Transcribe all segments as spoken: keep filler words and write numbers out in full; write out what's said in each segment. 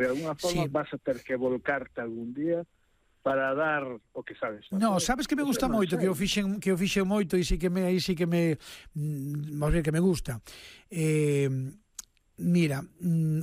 De alguna forma sí. Vas a ter que volcarte algún día para dar o que sabes. No, sabes que me gusta moito, que o fixen, que o fixen moito e sí que me aí sí que me vamos ver que me gusta. Eh, mira,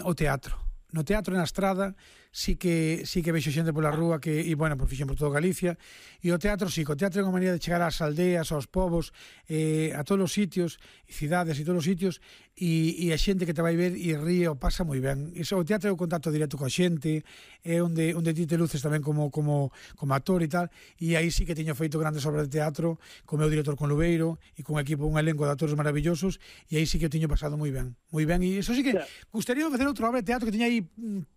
o teatro. No teatro na estrada sí que sí que vexo xente pola rúa que e bueno, por fixen por toda Galicia, e o teatro sí, o teatro é unha maneira de chegar ás aldeas, aos povos, eh, a todos os sitios, e cidades e todos os sitios, e, e a xente que te vai ver e ríe o pasa moi ben. Iso, o teatro é o contacto directo coa xente, é onde onde ti te luces tamén como como como actor e tal, e aí sí que teño feito grandes obras de teatro co meu director con Lubeiro e con un equipo, un elenco de actores maravillosos, e aí sí que teño pasado moi ben, moi ben, e iso sí que gustaría facer outra obra de teatro que teña aí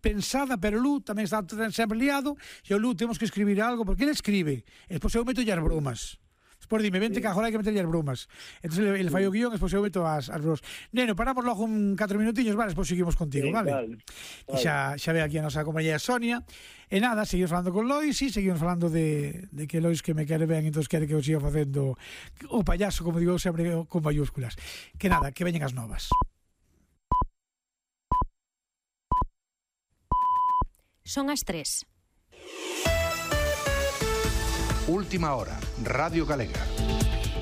pensada, pero Lu tamén está sempre liado, e o Lu temos que escribir algo, porque ele escribe, e despois eu meto as bromas. Despois dime, vente sí. que agora hai que meter as bromas. Entón ele, ele fai o guión, despois eu meto as, as bromas. Neno, paramos logo un catro minutinhos, vale, despois seguimos contigo, sí, vale? Vale, vale. E xa, xa ve aquí a nosa compañera Sonia. E nada, seguimos falando con Lois, e seguimos falando de, de que Lois que me quere ben, entón quere que eu siga facendo o payaso, como digo sempre, con mayúsculas. Que nada, que veñen as novas. Son as tres. Última hora, Radio Galega.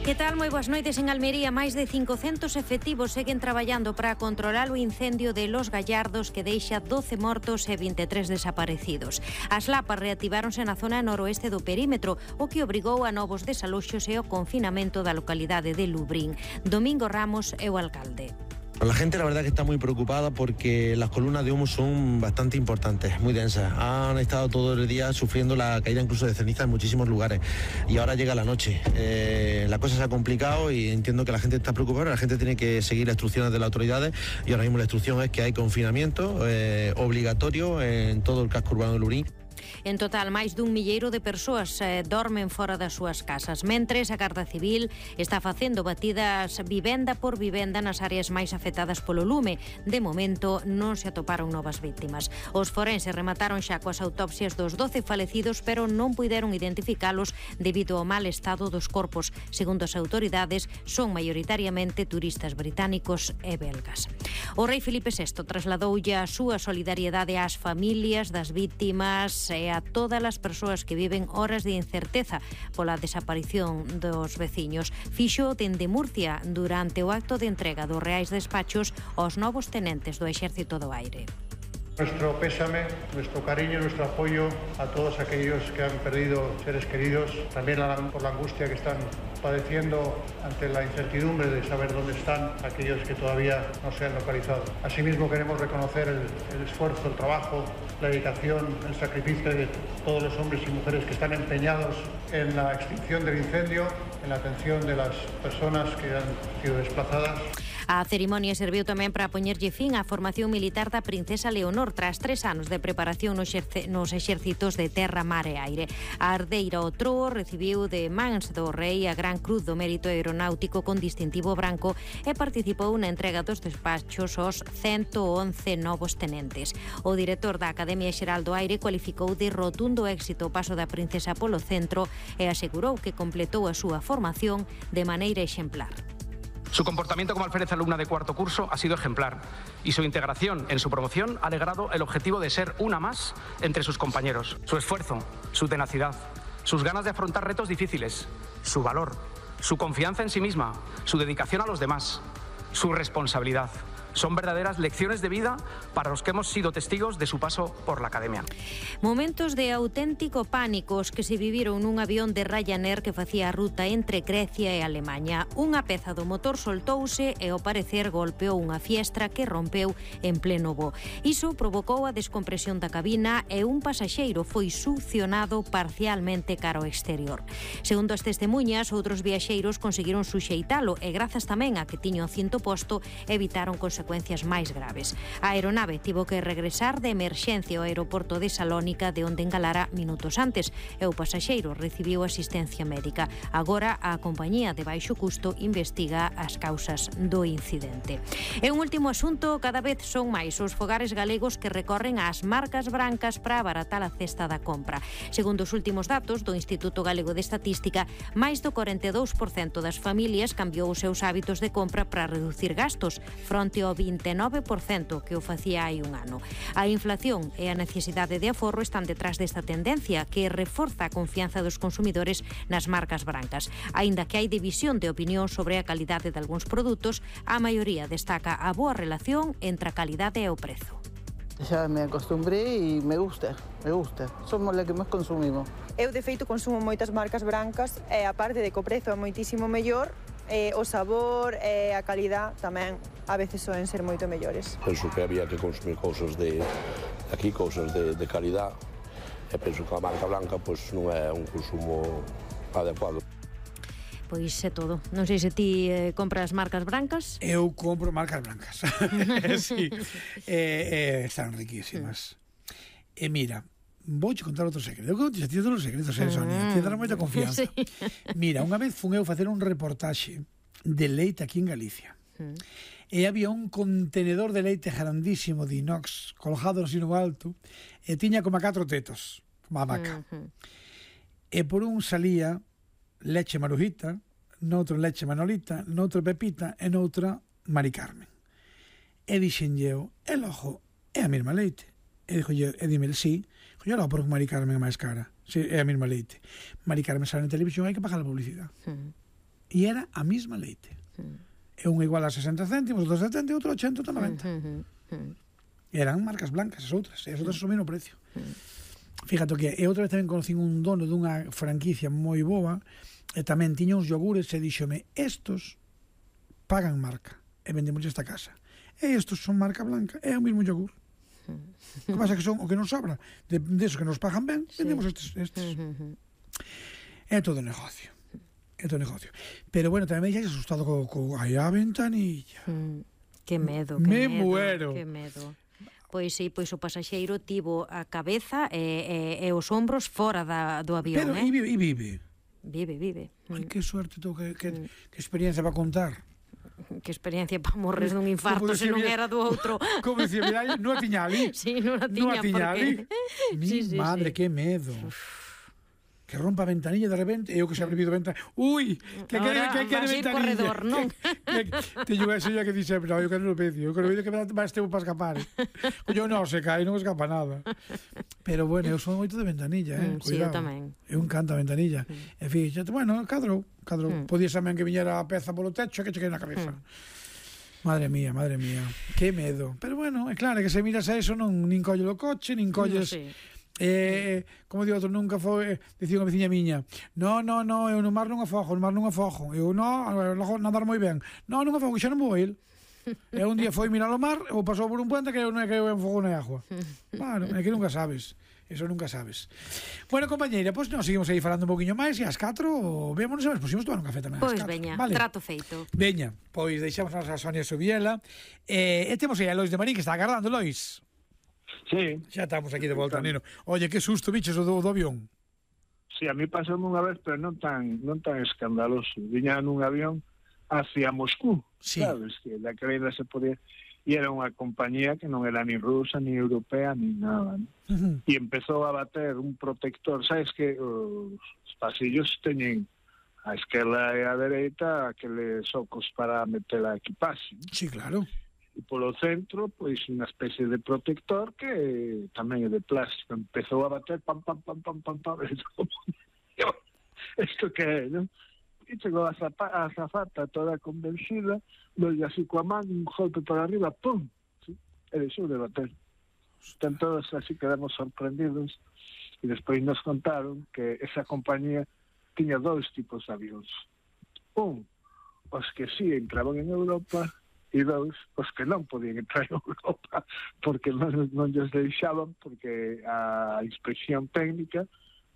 Que tal? Moi boas noites. En Almería, máis de cincocentos efectivos seguen traballando para controlar o incendio de Los Gallardos que deixa doce mortos e vinte e tres desaparecidos. As lapas reactiváronse na zona noroeste do perímetro, o que obrigou a novos desaloxos e o confinamento da localidade de Lubrín. Domingo Ramos é o alcalde. La gente la verdad que está muy preocupada porque las columnas de humo son bastante importantes, muy densas. Han estado todo el día sufriendo la caída incluso de ceniza en muchísimos lugares y ahora llega la noche. Eh, la cosa se ha complicado y entiendo que la gente está preocupada, la gente tiene que seguir las instrucciones de las autoridades y ahora mismo la instrucción es que hay confinamiento eh, obligatorio en todo el casco urbano de Lurín. En total, máis dun milleiro de persoas eh, dormen fora das súas casas. Mentres, a Garda Civil está facendo batidas vivenda por vivenda nas áreas máis afectadas polo lume. De momento, non se atoparon novas víctimas. Os forenses remataron xa coas autopsias dos doce falecidos, pero non puideron identificalos debido ao mal estado dos corpos. Segundo as autoridades, son maioritariamente turistas británicos e belgas. O rei Filipe sexto trasladoulle a súa solidariedade ás familias das víctimas e a todas as persoas que viven horas de incerteza pola desaparición dos veciños. Fixo dende Murcia durante o acto de entrega dos reais despachos aos novos tenentes do Exército do Aire. Nuestro pésame, nuestro cariño, nuestro apoyo a todos aquellos que han perdido seres queridos, también por la angustia que están padeciendo ante la incertidumbre de saber dónde están aquellos que todavía no se han localizado. Asimismo queremos reconocer el, el esfuerzo, el trabajo, la dedicación, el sacrificio de todos los hombres y mujeres que están empeñados en la extinción del incendio, en la atención de las personas que han sido desplazadas. A cerimonia serviu tamén para poñerlle fin á formación militar da princesa Leonor tras tres anos de preparación nos, exerce, nos exércitos de terra, mar e aire. A herdeira ao trono recibiu de mans do rei a Gran Cruz do Mérito Aeronáutico con distintivo branco e participou na entrega dos despachos aos ciento once novos tenentes. O director da Academia Xeral do Aire cualificou de rotundo éxito o paso da princesa polo centro e asegurou que completou a súa formación de maneira exemplar. Su comportamiento como alférez alumna de cuarto curso ha sido ejemplar y su integración en su promoción ha logrado el objetivo de ser una más entre sus compañeros. Su esfuerzo, su tenacidad, sus ganas de afrontar retos difíciles, su valor, su confianza en sí misma, su dedicación a los demás, su responsabilidad. Son verdaderas lecciones de vida para los que hemos sido testigos de su paso por la Academia. Momentos de auténtico pánico os que se viviron nun avión de Ryanair que facía a ruta entre Grecia e Alemaña. Unha peza do motor soltouse e ao parecer golpeou unha fiestra que rompeu en pleno voo. Iso provocou a descompresión da cabina e un pasaxeiro foi succionado parcialmente cara ao exterior. Segundo as testemunhas, outros viaxeiros conseguiron suxeitalo e grazas tamén a que tiño o cinto posto evitaron consecuencias consecuencias máis graves. A aeronave tivo que regresar de emerxencia ao aeroporto de Salónica, de onde engalara minutos antes, e o pasaxeiro recibiu asistencia médica. Agora, a compañía de baixo custo investiga as causas do incidente. E un último asunto, cada vez son máis os fogares galegos que recorren ás marcas brancas para abaratar a cesta da compra. Segundo os últimos datos do Instituto Galego de Estatística, máis do corenta e dous por cento das familias cambiou os seus hábitos de compra para reducir gastos, fronte ao ao vinte e nove por cento que o facía hai un ano. A inflación e a necesidade de aforro están detrás desta tendencia que reforza a confianza dos consumidores nas marcas brancas. Aínda que hai división de opinión sobre a calidade de algúns produtos, a maioría destaca a boa relación entre a calidade e o prezo. Xa me acostumbré e me gusta, me gusta. Somos a que máis consumimos. Eu, de feito, consumo moitas marcas brancas e, aparte de que o prezo é moitísimo mellor, eh, o sabor e a calidad tamén a veces soen ser moito mellores. Penso que había que consumir cousas de aquí, cousas de, de calidad, e penso que a marca blanca pois, non é un consumo adecuado. Pois é todo. Non sei se ti eh, compras marcas brancas. Eu compro marcas brancas. Sí. eh, eh, están riquísimas. E eh, mira, vouche contar outro secreto. Eu conto a ti todos os secretos, eh, Sonia. Ti dará moita confianza. Sí. Mira, unha vez fun eu facer un reportaxe de leite aquí en Galicia. Mm. E había un contenedor de leite grandísimo de inox colgado así no alto e tiña como catro tetos, como a vaca. Mm-hmm. E por un salía leche Marujita, noutro leche Manolita, noutro Pepita e noutra Mari Carmen. E dixenlle eu, e logo, é a mesma leite. E dixolle, e dime, sí, dixolle, logo, porque Mari Carmen é máis cara. Sí, é a mesma leite. Mari Carmen sale na televisión, hai que pagar a publicidade. Mm. E era a mesma leite. Mm. E unha igual a sesenta céntimos, outro setenta e outro ochenta, outro noventa. Mm, mm, mm. Eran marcas blancas, as outras, e as outras son o mesmo precio. Mm. Fíjate que e outra vez tamén conocín un dono dunha franquicia moi boa e tamén tiña uns yogures e díxome, estos pagan marca e vendemos esta casa e estos son marca blanca, é o mesmo yogur. Que pasa que son o que nos sobra de, de esos que nos pagan ben, vendemos estes, estes. É todo negocio, é todo negocio. Pero bueno, tamén me dixas asustado co, co aí a ventanilla. Mm, que medo, que me medo, muero. Que medo. Pois sí, pois o pasaxeiro tivo a cabeza e, e, e os ombros fora da, do avión, Pero, eh? e vive, e vive. Vive, vive. Ai, que suerte tú, que, que, mm. que experiencia para contar. Que experiencia para morres dun infarto se non era do outro. Como dicía, mira, non a tiña ali. Sí, non a tiña, non a tiña porque... ali. Mi sí, sí, madre, sí. Que medo. Uf. Que rompa a ventanilla de repente, eu que se abrido ventana. Ui, que quere que quere ventanilla. Corredor, non? Teño eso ya que di sempre, no, eu quero no pecio, eu quero ver que máis tempo para escapar. Eu non se cae, non escapa nada. Pero bueno, eu son moito de ventanilla, eh. Mm, sí, eu tamén. Eu encanta a ventanilla. Mm. E fíxate, bueno, cadrou, cadrou. Mm. Podías tamén que viñera a peza polo techo e que che quede na cabeza. Mm. Madre mía, madre mía. Que medo. Pero bueno, é claro que se miras a eso non nin colles o coche, nin colles... No, sí. Eh, como digo outro, nunca foi, dicía unha veciña miña, no, no, no, eu no mar non afogo, no mar non afogo, eu no, logo nadar moi ben, no, non afogo, xa non vou ir. E un día foi mirar o mar, ou pasou por un puente que eu non é que eu enfogo na agua. Claro, é que nunca sabes, eso nunca sabes. Bueno, compañeira, pois pues, nos seguimos aí falando un poquinho máis e ás catro, vémonos e pois imos tomar un café tamén. Pois veña, vale. Trato feito. Veña, pois deixamos a Sonia Subiela e, e temos aí a Lois de Marín que está agardando, Lois. Sí. Xa estamos aquí de volta, neno. Oye, que susto, bichos, o do, do avión. Sí, a mí pasou unha vez, pero non tan non tan escandaloso. Viña nun avión hacia Moscú, sí. Sabes? Que la carreira se podía... E era unha compañía que non era ni rusa, ni europea, ni nada, ¿no? Uh-huh. E empezou a bater un protector. Sabes que os pasillos teñen a esquerda e a dereita aqueles socos para meter a equipaxe, ¿no? Sí, claro. E polo centro, pois, unha especie de protector que tamén é de plástico. Empezou a bater, pam, pam, pam, pam, pam, pam. Isto que é, non? E chegou a, zapa, a zafata toda convencida, dolle así coa man, un golpe para arriba, pum! Sí? E deixou de bater. Están todos así, quedamos sorprendidos. E despois nos contaron que esa compañía tiña dous tipos de avións. Un, os que sí entraban en Europa, e dous, os que non podían entrar en Europa porque non, non lles deixaban, porque a inspección técnica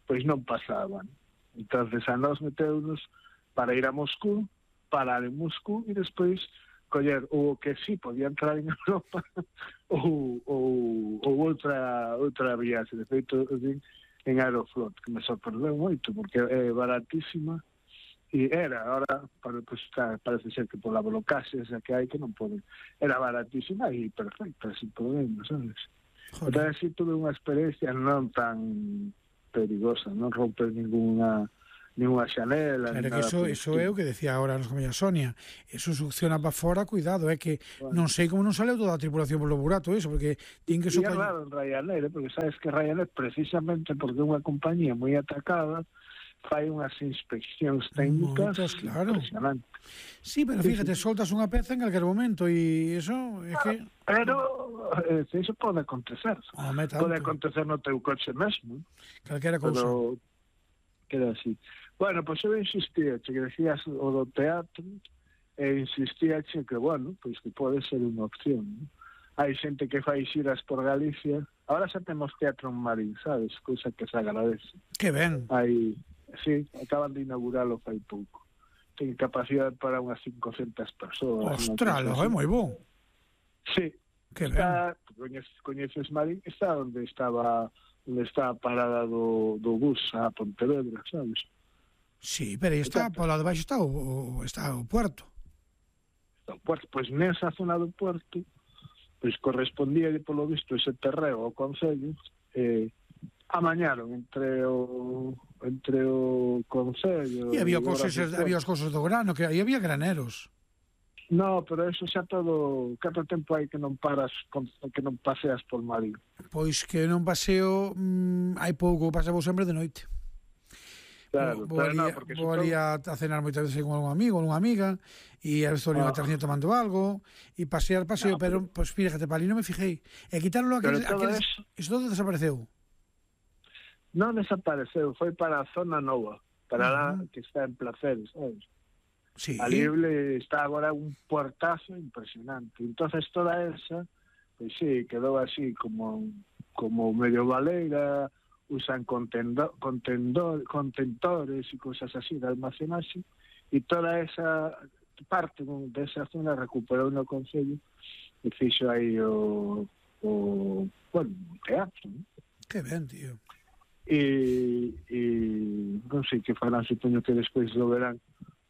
pois non pasaban. Entonces a nós meteunos para ir a Moscú, parar en Moscú e despois coller o que sí podía entrar en Europa ou, ou, ou outra outra viaxe. De feito, en Aeroflot, que me sorprendeu moito porque é baratísima. E era, ahora pues, parece ser que por la blocaxe esa que hai que non poden. Era baratísima e perfecta, sin problema, sabes? Pero así tuve unha experiencia non tan perigosa, non romper ninguna ni unha xanela, claro, ni que nada. Eso, eso é o que decía agora nos compañía Sonia. Eso succiona para fora, cuidado, é que bueno, non sei como non saleu toda a tripulación polo burato, eso, porque tin que... E é raro en Ryanair, porque sabes que Ryanair, precisamente porque é unha compañía moi atacada, fai unhas inspeccións técnicas moitas, claro. impresionantes. Sí, pero fíjate, soltas unha peza en calquer momento e eso é que... Pero eh, eso pode acontecer. Home, pode acontecer no teu coche mesmo. Calquera cousa. Pero queda así. Bueno, pois pues eu insistía, che que decías o do teatro, e insistía che que, bueno, pois pues que pode ser unha opción, ¿no? Hai xente que fai xiras por Galicia. Ahora xa temos teatro en Marín, sabes? Cousa que se agradece. Que ben. Hai, sí, acaban de inauguralo fai pouco. Ten capacidade para unhas cincocentas persoas. Ostras, lo é moi bo. Sí. Que está, coñeces, coñeces Marín, está onde estaba onde está a parada do, do bus a Pontevedra, sabes? Sí, pero aí está, por lá de baixo está o, o, está o puerto. O puerto, pois pues, nesa zona do puerto, pois pues, correspondía, polo visto, ese terreo ao Concello, eh, amañaron entre o entre o Concello... E había cosas, había as cosas do grano, que aí había graneros. No, pero eso xa todo... Cada tempo hai que non paras, que non paseas por Marín. Pois que non paseo, mmm, hai pouco, pasamos sempre de noite. Claro, vou, pero no, porque vou ali a, a cenar moitas veces con algún amigo, unha amiga, e a veces ali unha tarjeta tomando algo, e pasear, paseo, no, pero, pero pues fíjate, para ali non me fijei. E quitarlo aquel, aquel, eso, eso todo desapareceu. Non desapareceu, foi para a zona nova, para uh -huh. lá que está en Placeres, sabes? Sí. Ali está agora un puertazo impresionante. Entonces toda esa, pues sí, quedou así como como medio baleira, usan contendor, contendor, contentores y cosas así de almacenaje, y toda esa parte de esa zona recuperou no Concello e fixo aí o, o bueno, o teatro, ¿no? Que ben, tío. E, e non sei que farán, supoño que despois do verán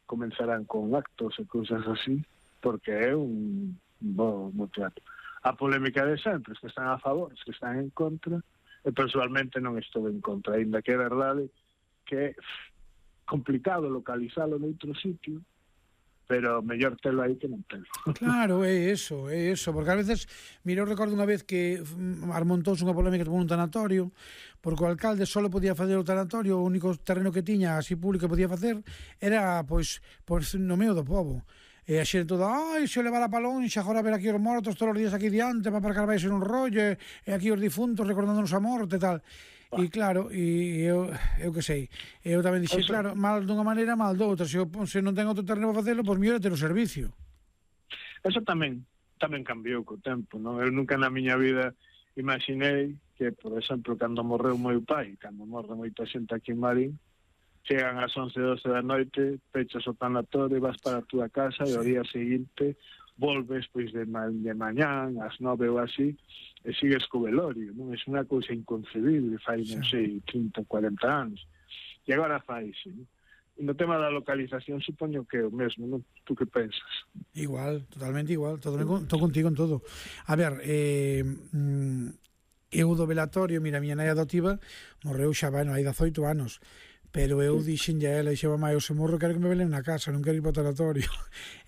comenzarán con actos e cousas así, porque é un bo, bo teatro. A polémica de sempre, os que están a favor, os que están en contra, e personalmente non estou en contra, ainda que é verdade que é complicado localizalo noutro sitio, pero mellor telo aí que non telo. Claro, é eso, é eso, porque a veces, mira, eu recordo unha vez que armontouse unha polémica por un tanatorio, porque o alcalde só podía facer o tanatorio, o único terreno que tiña así público que podía facer era, pois, pois no medio do pobo. E a xente toda, ai, se o levara pa lonxa, agora ver aquí os mortos todos os días aquí diante, para aparcar vais en un rollo, e aquí os difuntos recordándonos a morte e tal. E claro, e eu, eu que sei, eu tamén dixei, claro, mal dunha maneira, mal doutra, se, eu, se non ten outro terreno para facelo, pois mellor é ter o servicio. Eso tamén, tamén cambiou co tempo, non? Eu nunca na miña vida imaginei que, por exemplo, cando morreu meu pai, cando morre moita xente aquí en Marín, chegan ás once, doce da noite, pechas o tanatorio, vas para a túa casa, sí. E o día seguinte volves pois de, ma de mañán, ás nove ou así, e sigues co velorio, non? É unha cousa inconcebible, fai, non sei, trinta, cuarenta anos. E agora fai, sí. E no tema da localización, supoño que é o mesmo, non? Tú que pensas? Igual, totalmente igual, todo, todo contigo en todo. A ver, eh, eu do velatorio, mira, a miña nai adoptiva morreu xa, bueno, hai dezoito anos, pero eu dixen a ela, dixen, mamá, eu se morro quero que me velen na casa, non quero ir para o tanatorio.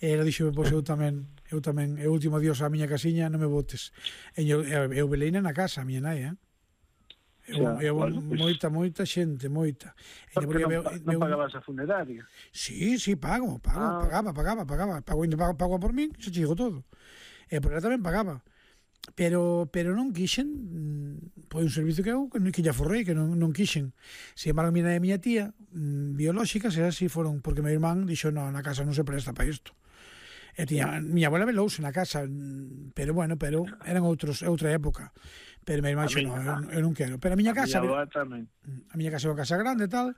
E ela dixo, pois eu tamén, eu tamén, eu último adiós á miña casiña, non me botes. E eu, eu veleina na casa, a miña nai, eh? Eu, xa, eu bueno, pues, moita, moita xente, moita. Porque non, eu, non eu, pagabas a funeraria? Sí, sí, pago, pago, ah. pagaba, pagaba, pagaba. Pago, pago, pago por min, xa chigo todo. E por ela tamén pagaba. Pero pero non quixen, foi un servicio que eu que ya forrei, que non, non quixen. Se embargo, a miña, a miña tía, mmm, biolóxica, se así foron, porque meu irmán dixo, no, na casa non se presta para isto. E tiña, miña abuela velouse na casa, pero bueno, pero eran outros, outra época. Pero meu irmán dixo, no, eu, eu non quero. Pero a miña casa, a miña, a miña casa é unha casa grande e tal,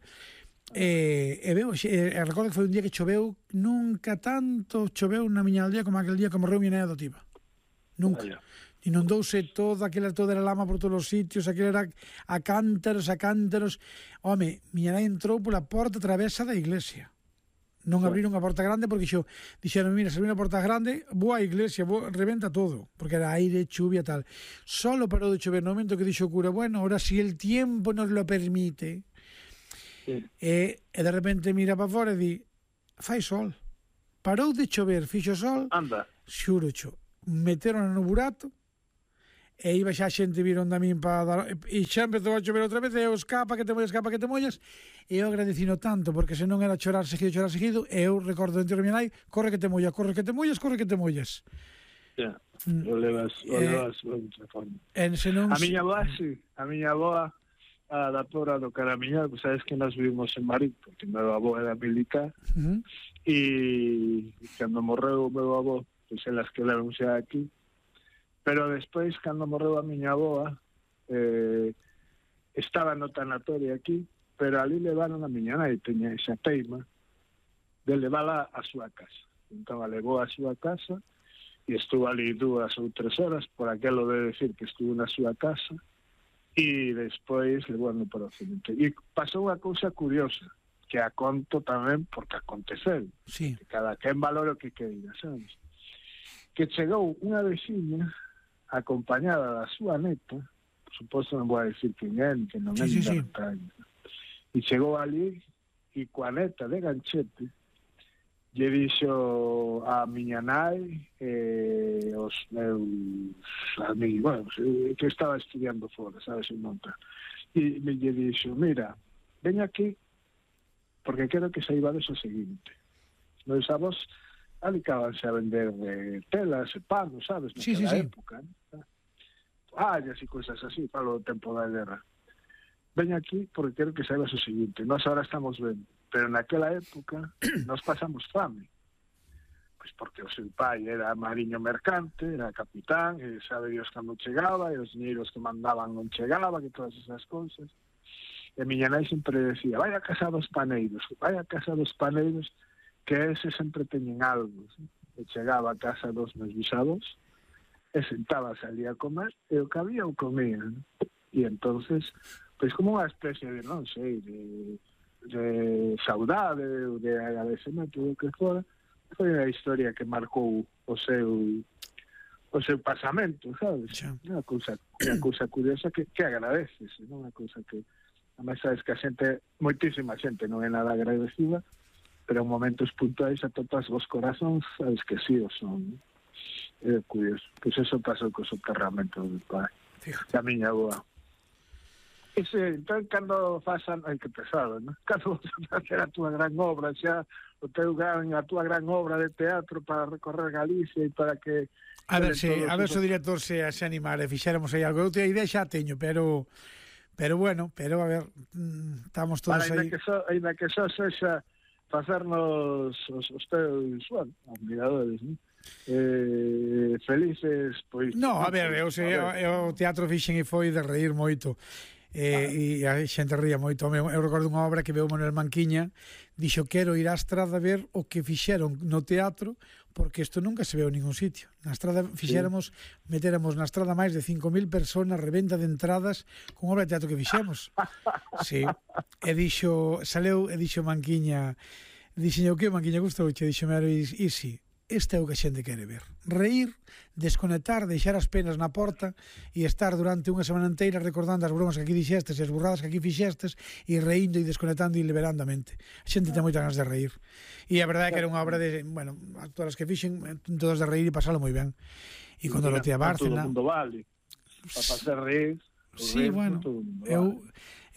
e, e veo, e, e recordo que foi un día que choveu, nunca tanto choveu na miña aldea como aquel día que morreu miña nai adotiva. Nunca. Vaya. Inundouse toda, aquela toda era lama por todos os sitios, aquela era a cántaros, a cántaros. Home, miña nai entrou pola porta travesa da iglesia. Non abriron a porta grande porque xo, dixeron, mira, se abriron a porta grande, vou á iglesia, vou, reventa todo, porque era aire, chuvia, tal. Solo parou de chover no momento que dixo o cura, bueno, ahora si el tiempo nos lo permite. Sí. E, e de repente mira para fora e di, fai sol. Parou de chover, fixo sol. Anda. Xuro xo. Meteron no burato e iba xa a xente viron da min para dar, e xa empezou a chover outra vez e eu escapa que te mollas, escapa que te mollas e eu agradecino tanto porque se non era chorar seguido, chorar seguido e eu recordo dentro da minha nai, corre que te mollas, corre que te mollas, corre que te mollas. Yeah. Mm. O levas, o levas eh, outra forma. Senón... A miña boa, sí, a miña boa a da Tora do Caramiñal, pues sabes que nós vivimos en Marín, porque meu avó era militar, uh-huh. e cando morreu o meu avó, pois pues, elas que levan xa aquí. Pero despois, cando morreu a miña avoa, eh, estaba no tanatorio aquí, pero ali levaron a miña nai, teña esa teima, de levala a súa casa. Entón, a levou a súa casa, e estuvo ali dúas ou tres horas, por aquelo de decir que estuvo na súa casa, e despois levou no para o cemento. E pasou unha cousa curiosa, que a conto tamén porque aconteceu. Sí. Que cada quen valora o que queira, sabes? Que chegou unha veciña acompañada da súa neta, por suposto non vou a decir quen é, que non é, sí, sí, sí. E chegou ali e coa neta de ganchete lle dixo a miña nai e os meus amigos, bueno, que estaba estudiando fora, sabes, en monta, e me lle dixo, mira, ven aquí porque quero que saibades o seguinte, meus avós alicabanse a vender de telas e panos, sabes, naquela sí, sí, sí. época, ¿no? Allas e cousas así, falo do tempo da guerra. Ven aquí porque quero que saibas o seguinte, nós ahora estamos ben, pero naquela época nós pasamos fame, pois porque o seu pai era mariño mercante, era capitán, e sabe Dios cando chegaba, e os dinheiros que mandaban non chegaban, e todas esas cousas. E miña nai sempre decía, vai a casa dos paneiros, vai a casa dos paneiros, que ese sempre teñen algo. ¿Sí? E chegaba a casa dos meus bisados, e sentábase ali a comer, e o que había o comía. ¿No? E entonces, pois como unha especie de, non sei, de, de saudade, de agradecemento, do que fora, foi unha historia que marcou o seu o seu pasamento, sabes? Unha cousa, unha cousa curiosa que, que agradeces, non? Unha cousa que, además, sabes que a xente, moitísima xente non é nada agradecida, pero en momentos puntuais a todos os corazóns, sabes que sí o son. É curioso. Pois eso pasou co soterramento do pai. A miña boa. Ese, entón, cando fasan, ai, que pesado, non? Cando vas a facer a túa gran obra, xa, o teu gran, a túa gran obra de teatro para recorrer Galicia e para que... A ver, se, a ver se o director se, se animara e fixéramos aí algo. Eu te a idea xa teño, pero... Pero bueno, pero a ver, estamos todos para, aí... Ainda que só, ainda que só sexa facernos os, os teus, bueno, admiradores, non? Eh, felices, pois... No, a ver, eu, sei, a ver. Eu, o teatro fixen e foi de reír moito. Eh, ah. E a xente ría moito. Eu, eu recordo unha obra que veu Manuel Manquiña, dixo, quero ir á estrada a ver o que fixeron no teatro, porque isto nunca se veu en ningún sitio. Na estrada fixéramos, sí. metéramos na estrada máis de cinco mil personas, reventa de entradas con obra de teatro que fixemos. Sí. E dixo, saleu, e dixo Manquiña, dixo, o que Manquiña gustou? E dixo, mero, e, e si, este é o que a xente quere ver. Reír, desconectar, deixar as penas na porta e estar durante unha semana inteira recordando as bromas que aquí dixestes e as burradas que aquí fixestes e reindo e desconectando e liberando a mente. A xente ten moitas ganas de reír. E a verdade é que era unha obra de, bueno, todas as que fixen, todas de reír e pasalo moi ben. E cando lo tía Bárcena... Todo o mundo vale. Para facer reír... Sí, bueno, eu...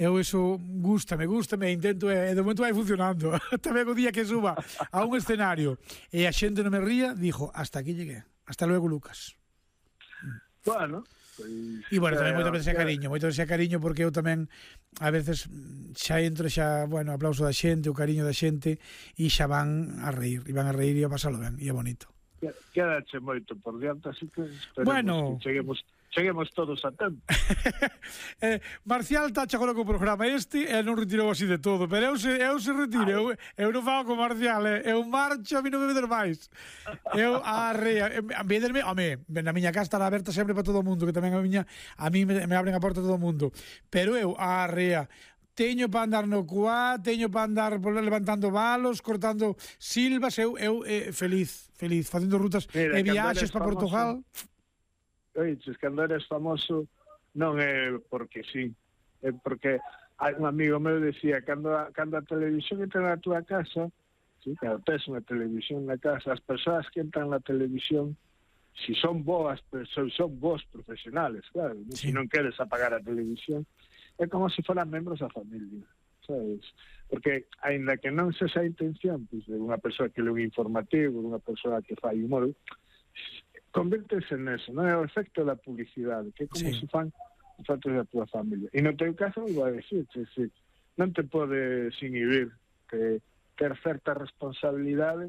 Eu eso gústame, gústame e intento, e de momento vai funcionando. Tamén o día que suba a un escenario e a xente non me ría, dixo, hasta aquí llegué. Hasta luego, Lucas. Bueno, pois... E bueno, tamén moitas veces é cariño, moitas veces é cariño porque eu tamén a veces xa entro xa, bueno, aplauso da xente, o cariño da xente e xa van a reír, e van a reír e a pasalo ben, e é bonito. Quédache moito por diante, así que esperemos bueno, que cheguemos... Cheguemos todos a tempo. eh, Marcial está agora co programa este e non retirou así de todo, pero eu se, eu se retire, eu, eu non fago con Marcial, eh, eu marcho, a mí non me veder máis. Eu arrea, a vederme, home, na miña casa estará aberta sempre para todo o mundo, que tamén a miña, a mí me, me abren a porta todo o mundo, pero eu arrea, teño para andar no cuá, teño para andar levantando balos, cortando silvas, eu, eu eh, feliz, feliz, facendo rutas e viaxes para Portugal. Oiches, cando eres famoso non é porque sí, é porque hai un amigo meu decía, cando a, cando a televisión entra na túa casa, sí, cando tes unha televisión na casa, as persoas que entran na televisión, si son boas, son, son bons profesionales, claro, sí. Si non queres apagar a televisión, é como se foran membros da familia, sabes? Porque, aínda que non se esa intención, pues, de unha persoa que lê un informativo, de unha persoa que fai humor, convértese neso, non é o efecto da publicidade, que é como sí. Se fan os fotos da tua familia. E no teu caso, vou a decir, que si, non te podes inhibir que ter certa responsabilidade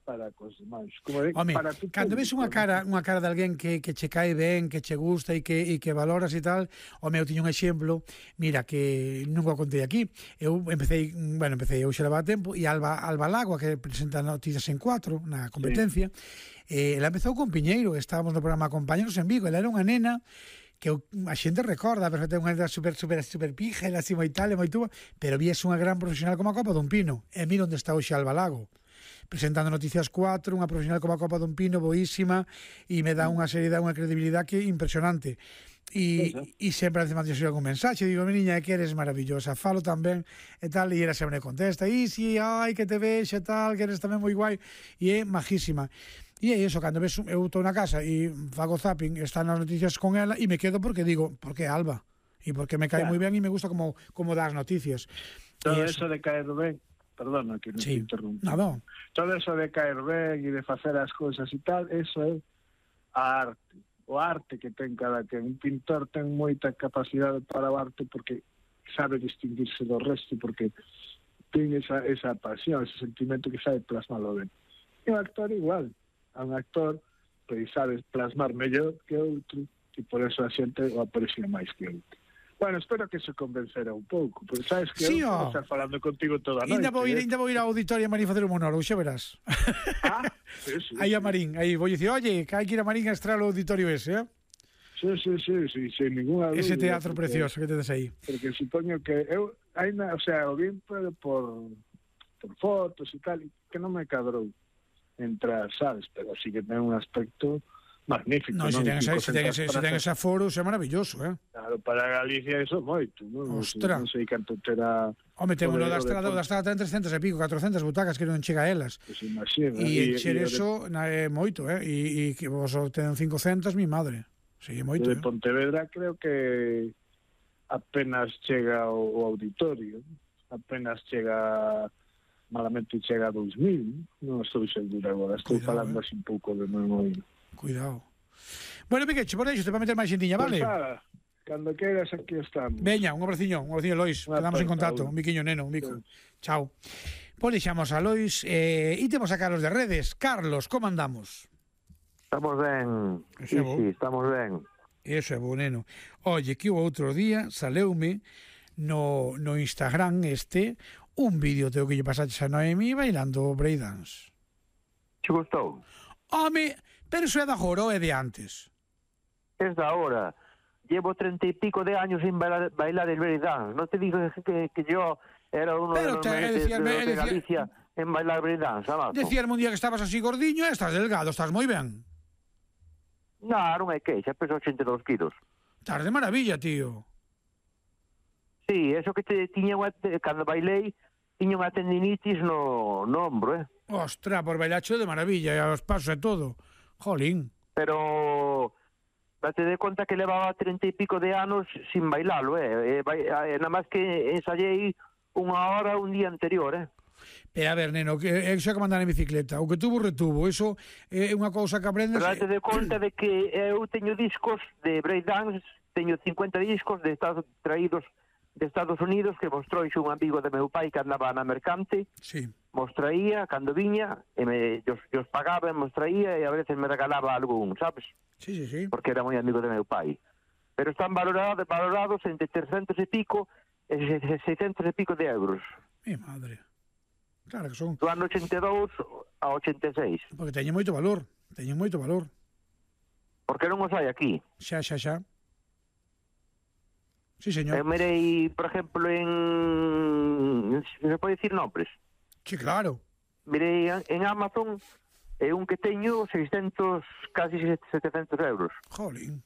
para cos demais. Como de, Home, para tu cando ves unha cara, unha cara de alguén que, que che cae ben, que che gusta e que, e que valoras e tal, o meu tiño un exemplo, mira, que nunca o contei aquí, eu empecé, bueno, empecé eu xa levaba tempo, e Alba, Alba Lagua, que presenta noticias en cuatro, na competencia, sí. eh, ela empezou con Piñeiro, estábamos no programa Compañeros en Vigo, ela era unha nena que a xente recorda, perfectamente, unha nena super, super, super pija, ela así moi tal, moi tuba, pero vies unha gran profesional como a Copa dun Pino, e mira onde está hoxe Alba Lago, presentando Noticias cuatro, unha profesional como a Copa dun Pino, boísima, e me dá unha seriedade, unha credibilidade que impresionante. E, e sempre encima de algún mensaxe, digo, meniña, é que eres maravillosa, falo tamén, e tal, e ela sempre me contesta, e si, ai, que te vexe, tal, que eres tamén moi guai, e é majísima. E é iso, cando ves, eu estou na casa e fago zapping, están as noticias con ela, e me quedo porque digo, porque é Alba, e porque me cae claro. Moi ben e me gusta como, como dá as noticias. Todo eso de caer ben, perdona que non sí. Te interrumpo. Nada. Todo eso de caer ben e de facer as cousas e tal, eso é a arte. O arte que ten cada que un pintor ten moita capacidade para o arte porque sabe distinguirse do resto, porque ten esa, esa pasión, ese sentimento que sabe plasmalo ben. E o actor igual, a un actor que sabe plasmar mellor que outro e por eso a xente o aprecia máis que outro. Bueno, espero que se convencera un pouco, porque sabes que sí, eu vou estar falando contigo toda a noite. Ainda vou ir, eh? ainda vou ir ao auditorio a Marín facer un monólogo, xa verás. Ah, sí, sí. Aí a Marín, aí vou dicir, oye, que hai que ir a Marín a estrear o auditorio ese, eh? Sí, sí, sí, sí, sin ninguna dúda. Ese teatro porque, precioso que tedes aí. Porque supoño que eu, ainda, o sea, o bien por, por, por fotos e tal, que non me cadrou entrar, sabes, pero sí que ten un aspecto magnífico. No, se ten ese, se ten ese, se ten ese aforo, é maravilloso, eh? Claro, para Galicia eso moito, non? Ostras. Non sei canto terá... Home, ten uno da estrada, da estrada ten trescentas e pico, catrocentas butacas que non chega a elas. Pues imagina. E encher eso é moito, eh? E que vos ten cincocentas, mi madre. Sí, é moito, de Pontevedra creo que apenas chega o, o auditorio, apenas chega... malamente chega a dos mil, non estou seguro agora, estou Cuidado, falando eh? así un pouco de memoria. Cuidado. Bueno, Piqueche, por eso te va a meter máis xentiña, vale? Pues nada, cando queiras aquí estamos. Veña, un abraciño, un abraciño, Lois, quedamos en contacto, un biquiño neno, un bico. Sí. Chao. Pois deixamos a Lois eh, e temos a Carlos de Redes. Carlos, como andamos? Estamos ben, sí, sí, estamos ben. Eso é bo, neno. Oye, que o outro día saleume no, no Instagram este un vídeo teo que lle pasaches a Noemi bailando breakdance. Che gustou? Home, pero eso é da agora ou é de antes? Es da hora. Llevo treinta y pico de años sin bailar, bailar el breakdance. No te digo que, que yo era uno pero de los te, mejores decía, de, de decía, Galicia en bailar breakdance. Decíame un día que estabas así gordiño e estás delgado, estás moi ben. Non, non é que, xa peso ochenta e dous kilos. Estás de maravilla, tío. Sí, eso que te tiña unha, cando bailei, tiña unha tendinitis no, no ombro, eh? Ostra, por bailacho de maravilla, e aos pasos e todo. Jolín. Pero, date de conta que levaba treinta y pico de anos sin bailalo, eh? E, nada máis que ensayei unha hora un día anterior, eh? Pero a ver, neno, que é xa que mandar en bicicleta. O que tuvo, retuvo. Eso é unha cousa que aprendes... Pero date de conta de que eu teño discos de breakdance, teño cincuenta discos de Estados traídos de Estados Unidos que mos trouxe un amigo de meu pai que andaba na mercante. Sí. Mos traía cando viña e me, os, os pagaba e mos traía e a veces me regalaba algún, sabes? Sí, sí, sí. Porque era moi amigo de meu pai. Pero están valorados, valorados entre trescentos e pico e seiscentos e pico de euros. Mi madre. Claro que son... Do ano ochenta e dous a ochenta e seis. Porque teñen moito valor. Teñen moito valor. Porque non os hai aquí. Xa, xa, xa. Sí, señor. Eu mirei, por exemplo, en... se pode dicir nombres? Sí, claro. Mirei en Amazon e un que teño seiscentos, casi setecentos euros. Jolín.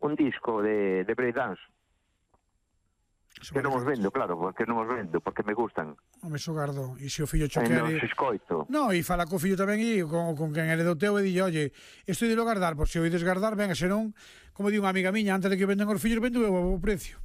Un disco de, de breakdance. Que non os vendo, claro, porque non os vendo, porque me gustan. Home, so gardo. E se o fillo cho E quere... non se escoito. No, e fala co fillo tamén e con, con quen ele do teu e dille, oye, isto de lo gardar, por se o ides gardar, venga, senón, como di unha amiga miña, antes de que venden os fillos, vendo o precio.